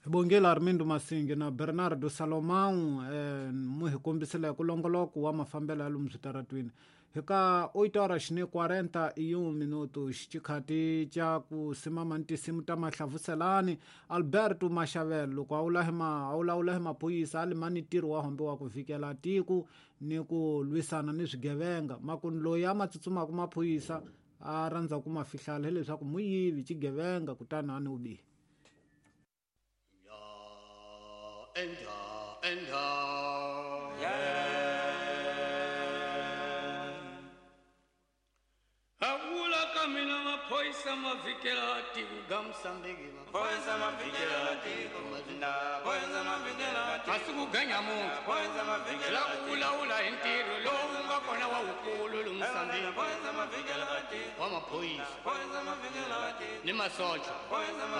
Bongile Armindo Masingi na Bernardo Salomão mu hi kombisile ku longoloko wa mafambelo ya lomu switaratwini. Hi ka 8 horas ni 41 minuto xichikhati ca ku simama ni tinsimu ta mahlavuselani Alberto Mashavelo loko a vula hi ma a vulavula hi maphorisa a lima ni ntirho wa hombe wa ku vikela tiko ni ku lwisana ni swigevenga makuni loyi a ma tsutsumaka maphorisa a rhandza ku ma fihlala hileswaku muyivi xigevenga kutani a ni u bihi. Avula ka mina maphoyisa ma vhikela tiko ga Mosambiki. Maphoyisa ma vhikela tiko maphoyisa ma vhikela tiko. A swi ku ganya munhu Maphoyisa ma vhikela la ku vulavula hi ntirho lowu nga kona wa wukulu lomu Mosambiki. Maphoyisa ma vhikela tiko Wa maphorisa maphoyisa ma vhikela tiko ni masocha maphoyisa ma